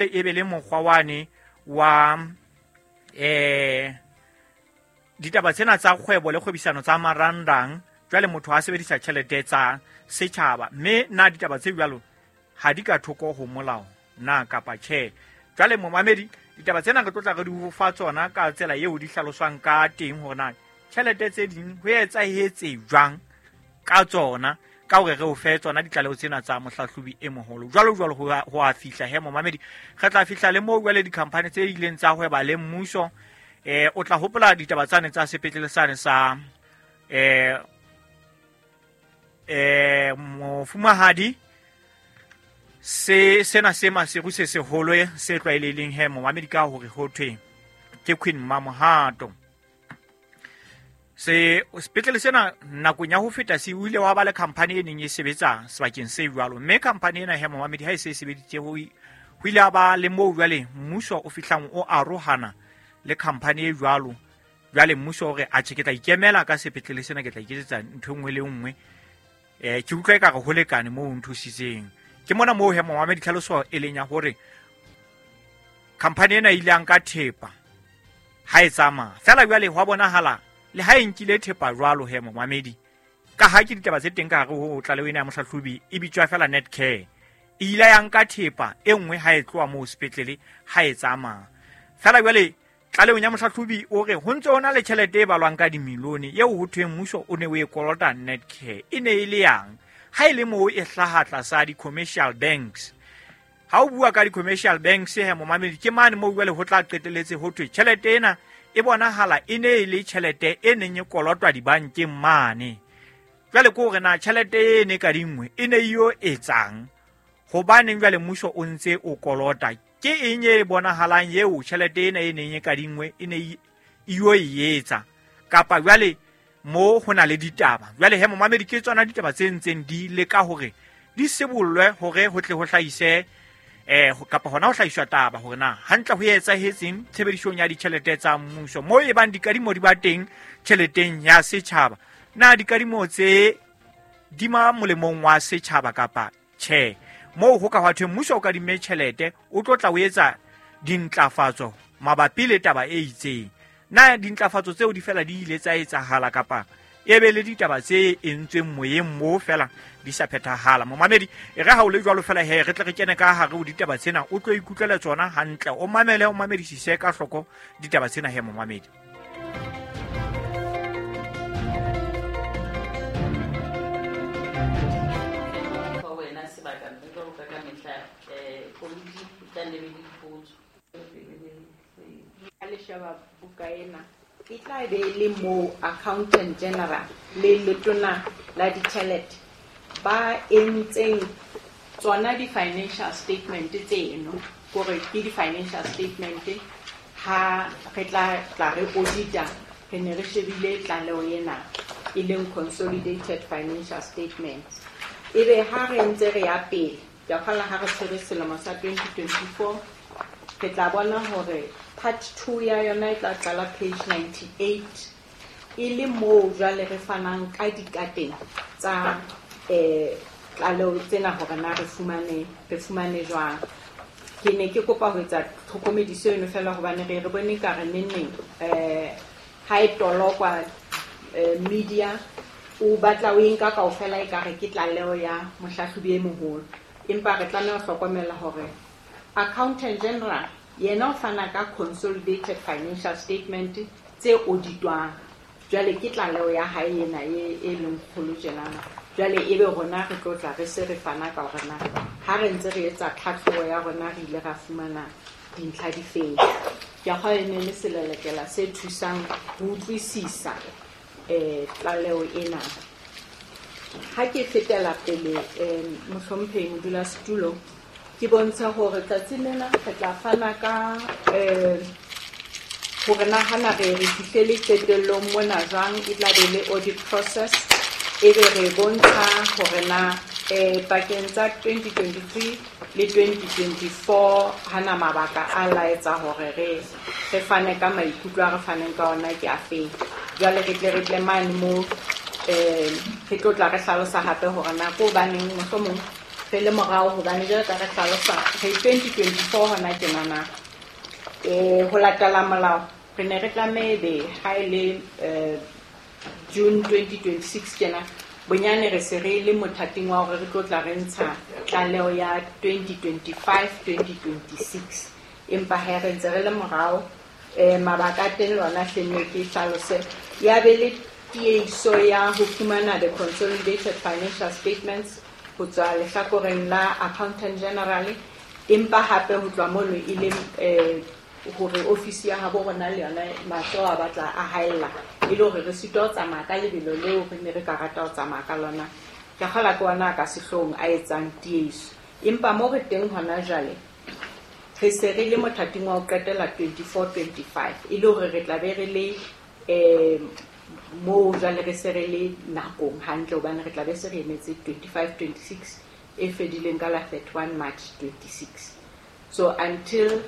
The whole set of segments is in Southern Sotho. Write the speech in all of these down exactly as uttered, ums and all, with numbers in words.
E be le mokgwa wane wa eh ditaba tsena tsa kgwebo le kgwebisano tsa marangrang. Jwale motho a sebedisa tjhelete tsa setjhaba, mme na ditaba tse jwalo ha di ka thoko ho molao na kapa tjhe? Jwale momamedi, ditaba tsena re tlo tla re di ho fa tsona ka tsela eo di hlaloswang ka teng hore na tjhelete tse ding ho etsahetse jwang ka tsona, ka hore re o fe tsona ditlaleho tsena tsa mohlahlobi e moholo. Jwalo jwalo ho a fihla he momamedi, re tla fihla le moo jwale di-company tse ileng tsa hweba le mmuso. Eh o tla hopola ditaba tsane tsa sepetlele sane sa eh eh mofumahadi se sena se Maseru se seholo se tlwaelehileng he momamedi ka hore ho thwe ke Queen Mamohato. Se sepetlele sena nakong ya ho feta se o ile wa ba le company e neng e sebetsa sebakeng se jwalo, mme company ena he momamedi ha e se e sebeditse ho ho ile a ba le moo jwale mmuso o fihlang o arohana le company e jwalo. Jwale mmuso o re atjhe ke tla ikemela ka sepetlele sena, ke tla iketsetsa ntho e nngwe le nngwe, eh ke utlwa ekare ho lekane moo o nthusitseng. Ke mona moo he momamedi tlhaloso e leng ya hore company ena e ile ya nka thepa ha e tsamaya fela. Jwale hwa bonahala le ha e nkile thepa jwalo he momamedi, ka ha ke ditaba tse teng ka hare ho tlaleho ena ya mohlahlobi e bitswa fela Netcare, e ile ya nka thepa e nngwe ha e tloha moo sepetlele ha e tsamaya fela. Jwale tlalehong ya mohlahlobi o re ho ntse ho na le tjhelete e balwang ka dimilione eo ho thweng mmuso o ne o e kolota Netcare. E ne e le yang ha e le moo e hlaha tlasa di-commercial banks? Ha o bua ka di-commercial banks he momamedi, ke mane moo jwale ho tla qetelletse ho thwe tjhelete ena e bonahala e ne e le tjhelete e neng e kolotwa dibankeng mane. Jwale ke hore na tjhelete e ne ka dingwe e ne e yo etsang, hobaneng jwale mmuso o ntse o kolota? Ke eng e bonahalang eo tjhelete ena e neng e ka dingwe e ne e yo e etsa? Kapa jwale mo ho na le ditaba jwale he momamedi, ke tsona ditaba tse ntseng di leka hore di sibollwe hore ho tle ho hlahise eh kapa hona ho hlahiswa taba hore na hantle ho etsahetseng tshebedisong ya ditjhelete tsa mmuso moo e bang dikadimo di ba teng tjheleteng ya setjhaba. Na dikadimo tse di ma molemong wa setjhaba kapa tjhe? Moo ho ka hwa thwe mmuso o kadimme tjhelete o tlo tla o etsa dintlafatso mabapi le taba e itseng. Na dintlafatso tseo di fela di ile tsa etsahala kapa e be le ditaba tse entsweng moyeng moo fela di sa phethahala? Momamedi, e re ha o le jwalo fela he re tle re kene ka hare ho ditaba tsena, o tlo ikutlwela tsona hantle, o mamele, o mamedisise ka hloko ditaba tsena he momamedi. Wena sebaka mme jwalo ka ka mehla eh komiti e tla nne be le dipotso. Ha le sheba buka ena e tla be e le moo Accountant General le letona la ditjhelete ba entseng tsona di-financial statement tseno, kore ke di-financial statement ha re tla tla re audita re ne re shebile tlaleho ena e leng consolidated financial statements. Ebe ha re ntse re ya pele, ke a kgolwa ha re tshwere selemo sa twenty twenty-four, re tla bona hore part two ya yona e tla qala page ninety-eight, e le moo jwale re fanang ka dikateng tsa eh tlaleho tsena hore na re fumane, re fumane jwang. Ke ne ke kopa ho etsa tlhokomediso eno fela hobane re re bone ka re neneng eh ha e tolokwa, eh, media o batla o e nka kaofela ekare ke tlaleho ya mohlahlobi e moholo, empa re tlameha ho hlokomela hore Accountant General yena o fana ka consolidated financial statement tse auditwang. Jwale ke tlaleho ya hae ena e, e leng kgolo tjenana. Jwale ebe rona re tlo tla re se re fana ka hore na ha re ntse re etsa tlhahlobo ya rona re ile ra fumana dintlha difeng. Ke a kgolwa e ne le selelekela se thusang ho utlwisisa eh tlaleho ena. Ha ke fetela pele, eh, mohlomphehi modulasetulo, ke bontsha hore tsatsing lena re tla fana ka, eh, hore na hana re re fihlele qetellong mona jwang, e tla be le audit process, ebe re bontsha hore na, eh, pakeng tsa twenty twenty-three le twenty twenty-four hana mabaka a laetsa hore re, re fane ka maikutlo a re faneng ka ona ke afeng. Jwale re tle re tle mane moo, eh, re tlo tla re hlalosa hape hore na ko hobaneng mohlomong Re le morao hobane jwalo ka re hlalosa re twenty twenty-four hona tjenana. Eh ho latela molao re ne re tlameha ebe ha e le eh June twenty twenty-six tjena bonyane re se re le mothating wa hore re tlo tla re ntsha tlaleho ya twenty twenty-five twenty twenty-six. Empa ha re ntse re le morao eh mabaka a teng lona hlenne ke hlalose ya be le tiehiso ya ho fumana the consolidated financial statements ho tswa lehlakoreng la Accountant General, empa hape ho tloha mono e le eh hore ofisi ya habo rona le yona mahlo a batla a haella e le hore re sitwa ho tsamaya ka lebelo leo re ne re ka rata ho tsamaya ka lona. Ke kgolwa ke ona ka sehloohong a etsang tiehiso. Empa mo re teng hona jwale re se re le mothating wa ho qetela twenty-four twenty-five e le hore re tla be re le eh moo jwale re se re le nakong hantle hobane re tla be se re emetse twenty-five twenty-six e fedileng ka la thirty-one March twenty-six. So until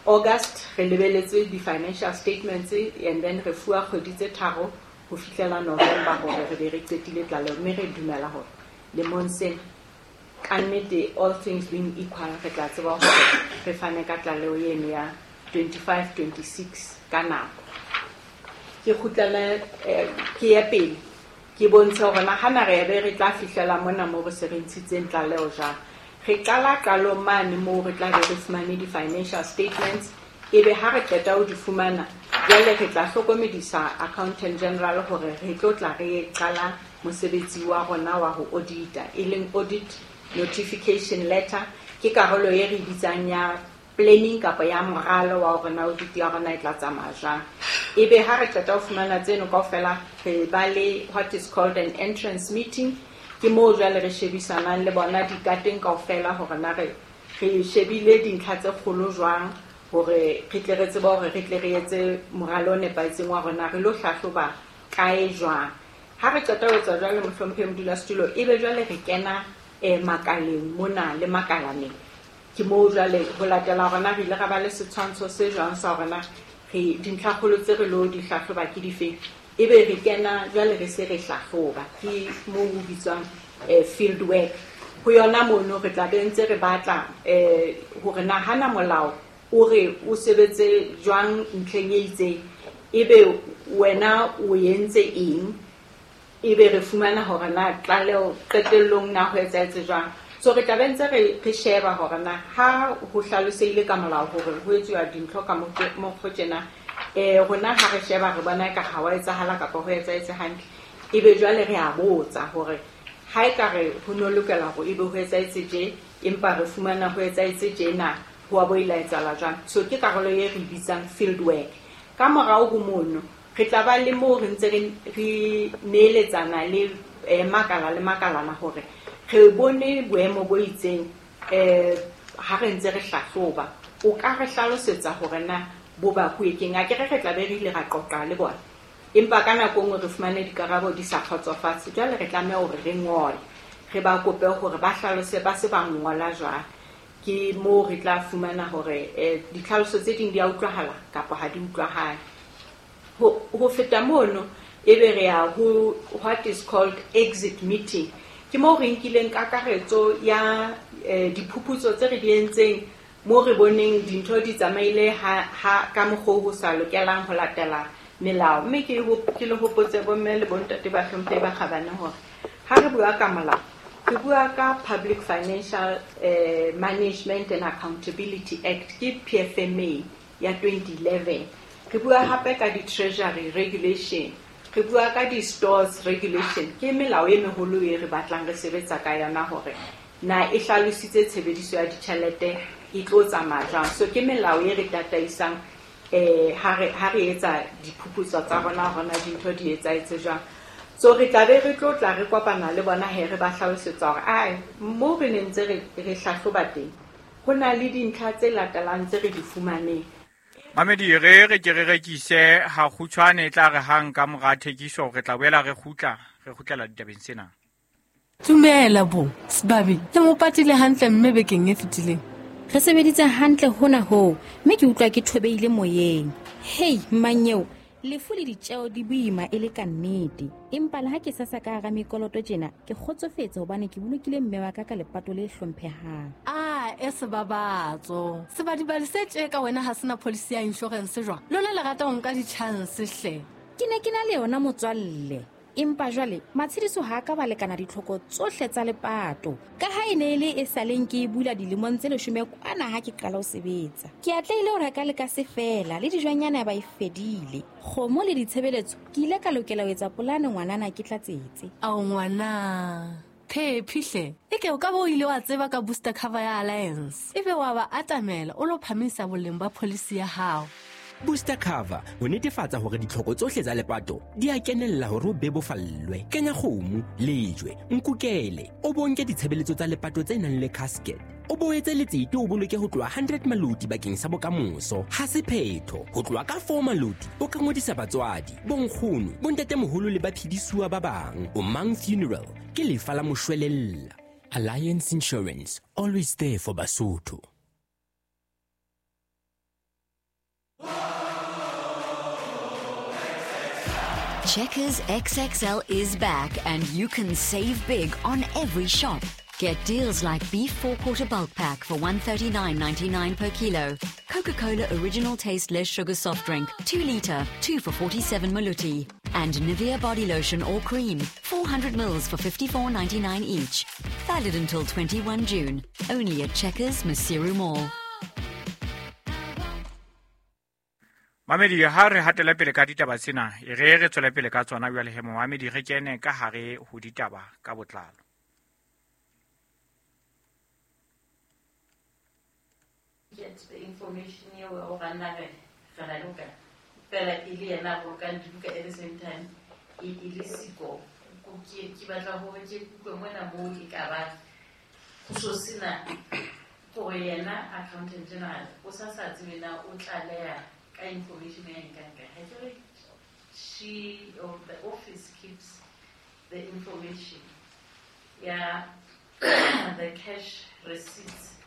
August re lebeletse di-financial statements and then re fuwa kgwedi tse tharo ho fihlela November hore re be re qetile tlaleho, mme re dumela hore lemong sena ka nnete all things being equal re tla tseba hore re fane ka tlaleho eno ya twenty-five twenty-six ka nako. Ke kgutlele eh, ke ye pele ke bontshe hore na hana re be re tla fihlela mona moo re se re ntshitseng tlaleho jwang. Re qala qalong mane moo re tla be re fumane di-financial statements, ebe ha re qeta ho di fumana jwale re tla hlokomedisa Accountant General hore re tlo tla re qala mosebetsi wa rona wa ho audita, e leng audit notification letter. Ke karolo e re bitsang ya planning kapa ya moralo wa hore na audit ya rona e tla tsamaya jwang. Ebe ha re qeta ho fumana tseno kaofela re ba le what is called an entrance meeting. Ke moo jwale re shebisanang le bona dikateng kaofela hore na re re shebile dintlha tse kgolo jwang hore re tle re tsebe hore re tle re etse moralo o nepahetseng wa rona re lo hlahloba kae jwang. Ha re qeta ho etsa jwale mohlomphehi modulasetulo, ebe jwale re kena eh makaleng mona le makalaneng. Ke moo jwale ho latela hore na re ile ra ba le setshwantsho se jwang sa hore na re dintlhakgolo tse re lo di hlahloba ke difeng. Ebe re kena jwale re se re hlahloba, ke moo ho bitswang eh field work. Ho yona mono re tla be ntse re batla eh hore na hana molao o re o sebetse jwang ntlheng e itseng, ebe wena o entse eng, ebe re fumana hore na tlaleho qetellong na ho etsahetse jwang. So re tla be ntse re re sheba hore na ha ho hlalosehile ka molao hore ho etsuwa dintho ka mokgwa tjena, eh rona ha re sheba re bona ka ha wa etsahala kapa ho etsahetse hantle, ebe jwale re a botsa hore ha e ka re ho no lokela hore ebe ho etsahetse tje, empa re fumana ho etsahetse tjena, ho a bo ile etsahala jwang. So ke karolo e re bitsang field work. Ka morao ho mono re tla ba le moo re ntse re re neeletsana le eh, makala le makalana hore re bone boemo bo itseng eh ha re ntse re hlahloba. O ka re hlalosetsa hore na bo bakuwe keng? Akere re tla be re ile ra qoqa le bona, empa ka nako e nngwe re fumane dikarabo di sa kgotsofatse. Jwale re tlameha hore re ngole, re ba kope hore ba hlalose ba se ba ngola jwang. Ke moo re tla fumana hore eh, ditlhaloso tse ding di a utlwahala kapa ha di utlwahale. Ho, ho feta mono ebe re ya ho what is called exit meeting. Ke moo re nkileng kakaretso ya eh, diphuputso tse re di entseng, moo re boneng dintho di tsamaile ha, ha ka mokgwa ho sa lokelang ho latela melao. Mme ke ho, ke le hopotse bomme le bontate ba hlomphehi ba kgabane hore ha re bua ka molao, re bua ka Public Financial eh, Management and Accountability Act, ke P F M A ya twenty eleven. Re bua hape ka di-Treasury Regulation, re bua ka di-Stores Regulation. Ke melao e meholo e re batlang re sebetsa ka yona hore na e hlalositse tshebediso ya ditjhelete e tlo tsamaya jwang. So ke melao e re tataisang eh ha re ha re etsa diphuputso tsa rona hore na dintho di etsahetse jwang. So re tla be re tlo tla re kopana le bona he re ba hlalosetsa hore ai mo re ne ntse re re hlahloba teng ho na le dintlha tse latelang tse re di fumaneng. Mamedi, re re ke re rekise ha kgutshwane, e tla re hang ka mora thekiso re tla boela re kgutla, re kgutlela ditabeng tsena. Dumela bo, Sebabi, le mo patile hantle mme bekeng e fetileng. Re sebeditse hantle hona hoo, mme ke utlwa ke thobehile moyeng. Hei, mmanyeo, Lefu le ditjeo di boima e le ka nnete. Empa le ha ke sasa ka hara mekoloto tjena, ke kgotsofetse hobane ke bolokile mme wa ka ka lepato le hlomphehang. Ah, e sebabatso. Sebadibadi se tje ka wena ha sena policy ya insurance jwang? Lona le rata ho nka di-chance hle. Ke ne ke na le yona motswalle. Empa jwale matshediso ha ka ba lekana ditlhoko tsohle tsa lepato. Ka ha e ne e le e saleng ke e bula dilemong tse leshome kwana ha ke qala ho sebetsa. Ke atlehile ho reka le ka se fela le dijwanyana ba e fedile. Kgomo le ditshebeletso ke ile ka lokela ho etsa polane ngwanana ke tlatsetse. Ao ngwana. Phephi hle. Eke o ka bo ile wa tseba ka booster cover ya Alliance. Ebe wa ba atamela o lo phamisa boleng ba policy ya hao. Booster cover ho netefatsa hore ditlhoko tsohle tsa lepato di a kenella hore o bebofallwe. Kenya kgomo, lejwe, nkukele, o bonke ditshebeletso tsa lepato tse nang le casket. O boetse letsete o boloke ho tloha hundred maloti bakeng sa bokamoso. Ha se phetho, ho tloha ka four maloti o ka ngodisa batswadi, bonkgono, bontatemoholo le baphedisuwa ba bang. O Mang Funeral ke lefa la moshwelella. Alliance Insurance, always there for Basotho. Checkers X X L is back and you can save big on every shop. Get deals like beef four-quarter bulk pack for one thirty-nine ninety-nine per kilo, Coca-Cola original taste less sugar soft drink, two litre, two for forty-seven maluti, and Nivea body lotion or cream, four hundred mils for fifty-four ninety-nine each. Valid until twenty-one June, only at Checkers Maseru Mall. Mamedi ha re hatela pele ka ditaba tsena, e re re tswele pele ka tsona jwale he momamedi re kene ka hare ho ditaba ka botlalo. Get the information eo o rana re re la loka. Fela e le yena bolokang dibuka at the same time e e le siko. Ke ke batla hore ke kutlwe mona moo e ka ba ho so sena gore yena accountant general o sa sa tsebe na o tlaleha ka information ya nka ka. She or the office keeps the information ya the cash receipts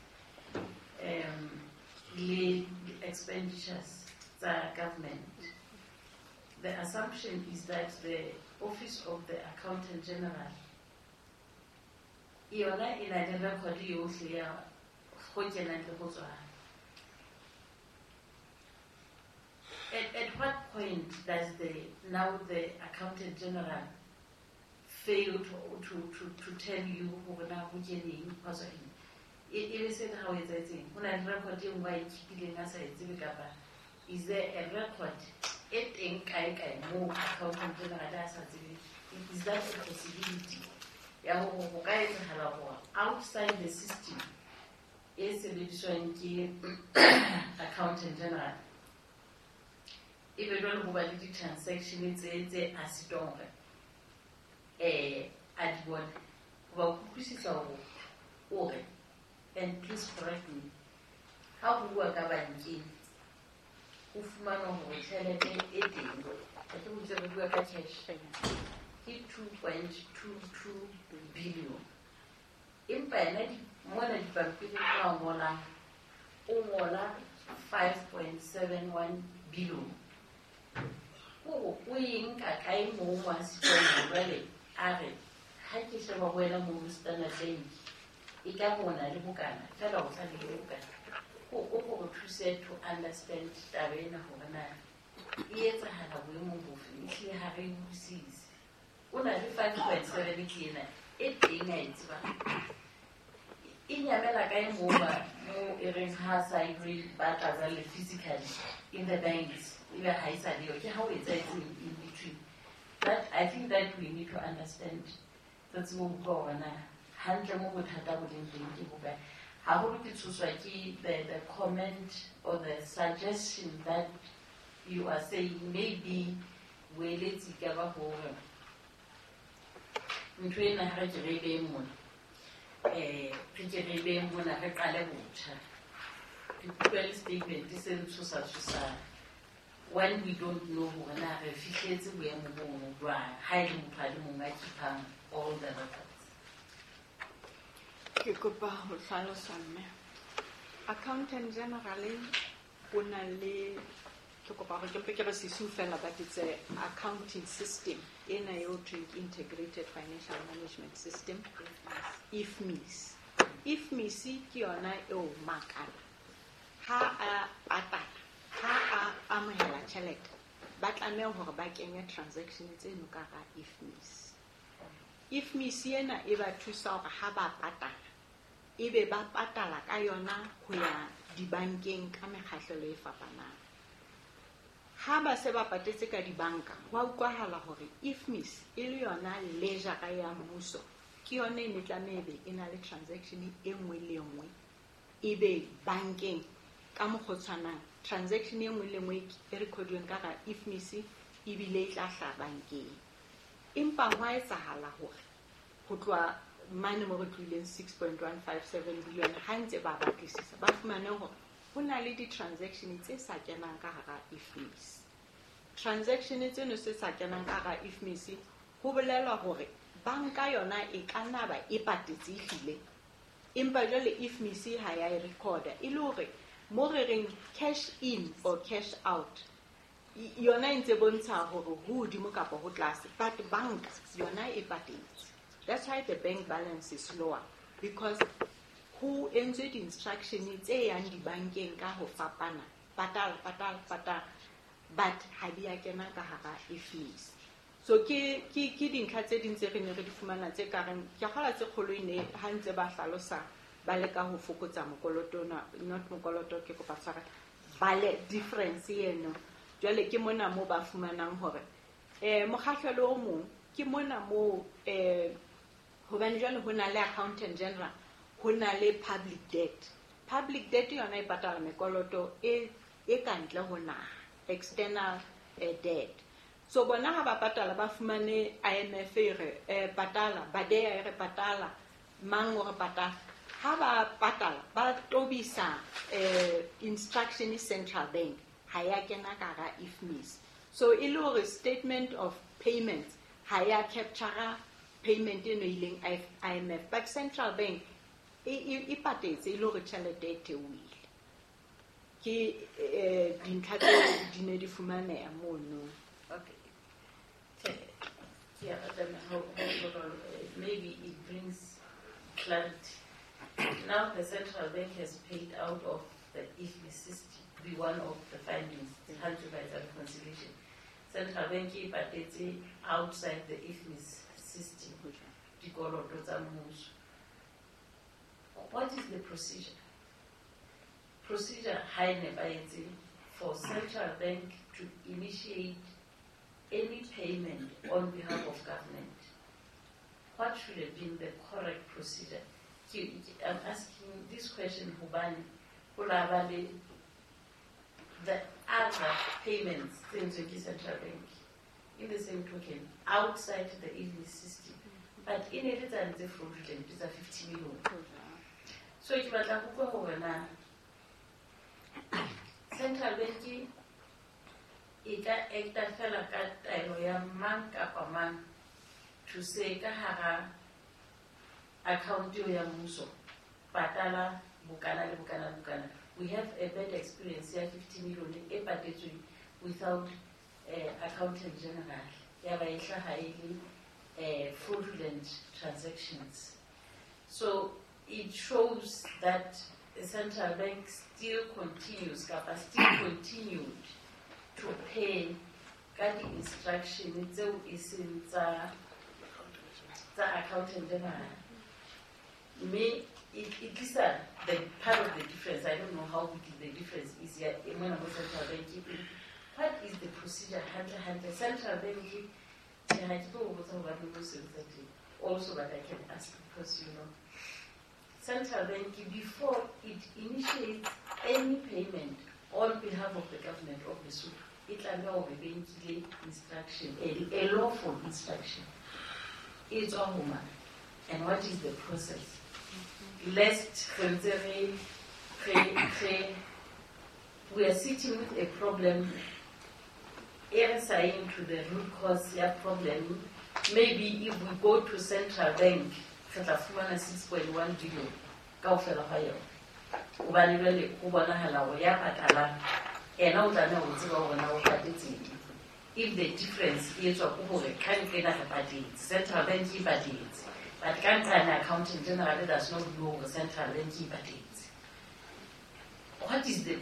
um le expenditures tsa government. The assumption is that the office of the accountant general yona e na le record yohle ya go kenang le go tswang. At, at what point does the now the accountant general fail to to to, to tell you hore na ho keneng ho tswa eng? E e se ha o etsetseng ho na le record e nngwe a e keepileng a sa e tsebe kapa is there a record e teng kae kae moo accountant general a sa tsebe? Is that a possibility ya hore ho ka etsahala hore outside the system e sebediswang ke accountant general e be jwale ho ba le di-transaction tse tse a sitwang hore eh a di bone. Hoba kutlwisisa hore o re, and please correct me, ha ho bua ka bankeng ho fumanwa hore tjhelete e teng, ha ke botse re bua ka cash ke two point two two billion, empa yena mona dipampiring a ngolang o ngola five point seven one billion. O o e nka kae moo mo a sitwang jwale a re ha ke sheba ho wena moo Standard Bank e ka bona le bokana fela o sa le bokana. O o go thuse to understand taba ena hore na e etsahala boemong bofe, ehlile ha re utlwisise. O na le five point seven ke ena e teng a e tsebang. E nyamela kae moo ba moo e reng ha sa e re batla jwale physically in the banks ebe ha e sa leyo, ke ha o etsahetseng in between. That I think that we need to understand. Re tsebe ho utlwa hore na hantle mo bothata bo leng teng ke bokae. Haholo ke tshoswa ke the, the comment or the suggestion that you are saying maybe boeletsi ka ba hore ntho ena ha re ke re e behe mona, eh re ke re e behe mona re qale botjha. Ke utlwa le statement se ntshosa tshosang when we don't know hore na re fihletse boemo bono jwang ha e le motho a le mong a keepang all the records. Ke kopa ho hlalosa mme. Accountant general o na le Ke kopa hore ke mpe ke re sisu fela, but it's a accounting system ena eo thweng ke Integrated Financial Management System, I F M I S. I F M I S ke yona eo makala ha a patala, ha a amohela tjhelete, ba tlameha hore ba kenye transaction tseno ka hara I F M I S. I F M I S ena e ba thusa hore ha ba patala, ebe ba patala ka yona ho ya dibankeng ka mekgahlelo e fapanang. Ha ba se ba patetse ka dibanka, ho a utlwahala hore I F M I S e le yona ledgera ya mmuso, ke yona e ne tlameha ebe e na le transaction e nngwe le e nngwe, ebe bankeng ka mokgwa o tshwanang transaction e nngwe le nngwe e recordweng ka hara I F M I S ebile e tla hlaha bankeng. Empa ho a etsahala hore ho tloha mane mo re tlohileng six point one five seven billion, ha ntse ba batlisisa, ba fumane hore ho na le di-transaction tse sa kenang ka hara I F M I S. Transaction tseno se sa kenang ka hara I F M I S ho bolela hore banka yona e ka nna ba e patetse ehlile, empa jwale I F M I S ha ya e recorda, e le hore mo re reng cash in or cash out, yona e ntse bontsha hore ho hodimo kapa ho tlase, but banka yona e patetse. That's why the bank balance is lower, because ho entswe di-instruction tse yang dibankeng ka ho fapana, patala, patala, patala, but ha di a kena ka hara I F M I S. So ke ke ke dintlha tse ding tse re ne re di fumana tse ka reng ke kgola tse kgolo e ne ha ntse ba hlalosa ba leka ho fokotsa mokoloto ona, not mokoloto, ke kopa tshwara bale difference eno. Jwale ke mona mo ba fumanang hore eh mokgahlelo o mong ke mona mo eh hobane jwale ho na le accountant general, ho na le public debt. Public debt yona e patala mekoloto e e ka ntle ho naha, external eh, debt. So bona ha ba patala, ba fumane I M F e re eh, patala, BADEA e re patala, mang o re patala. Ha ba patala, ba tobisa eh, instruction central bank, ha ya kena ka hara I F M I S. So e le hore statement of payments ha ya capture payment eno e ileng I M F, but central bank e e patetse, e le hore tjhelete e theohile. Ke eh, dintlha tseo di ne di fumaneha mono. Okay. Yeah, but then how, how, maybe it brings clarity. Now the central bank has paid out of the I F M I S system, be one of the findings, mm. by the reconciliation. Central bank e patetse outside the I F M I S system, dikoloto tsa mmuso. What is the procedure? Procedure ha e nepahetse for central bank to initiate any payment on behalf of government. What should have been the correct procedure? I'm asking this question hobane ho la ba le the other payments tse entsweng ke central bank in the same token outside the I F M I S system, but e ne le tsane tse fraudulent tsa fifty million. So ke batla ho utlwa hore na central bank e ka acta fela ka taelo ya mang kapa mang to say ka hara account eo ya mmuso patala bokana le bokana le bokana. We have a bad experience ya fifty million e patetsweng without uh, accountant general, ya ba e hlaha e le uh, fraudulent transactions. So it shows that the central bank still continues kapa still continued to pay ka di-instruction tseo e seng tsa tsa accountant general, mme e tlisa the part of the difference. I don't know how big the difference is here e mona mo central bank. What is the procedure hantle hantle central bank? Tjhe, ha ke tlo o botsa hobane mo sebetsa teng also, but I can ask because you know central bank, before it initiates any payment on behalf of the government of Lesotho, e tlameha hore be nkile instruction, a, a lawful instruction e tswa ho mang, and what is the process, lest re ntse re re re we are sitting with a problem e re sa yeng to the root cause ya problem. Maybe if we go to central bank, re tla fumana six point one billion kaofela ga yona, hobane jwale ho bonahala hore ya patalang Ena o tlameha ho tseba hore na o patetseng. If the difference e etswa ke hore ka nqena re patetse, central bank e patetse, but ka nqane accountant general does not know hore central bank e patetse. What is the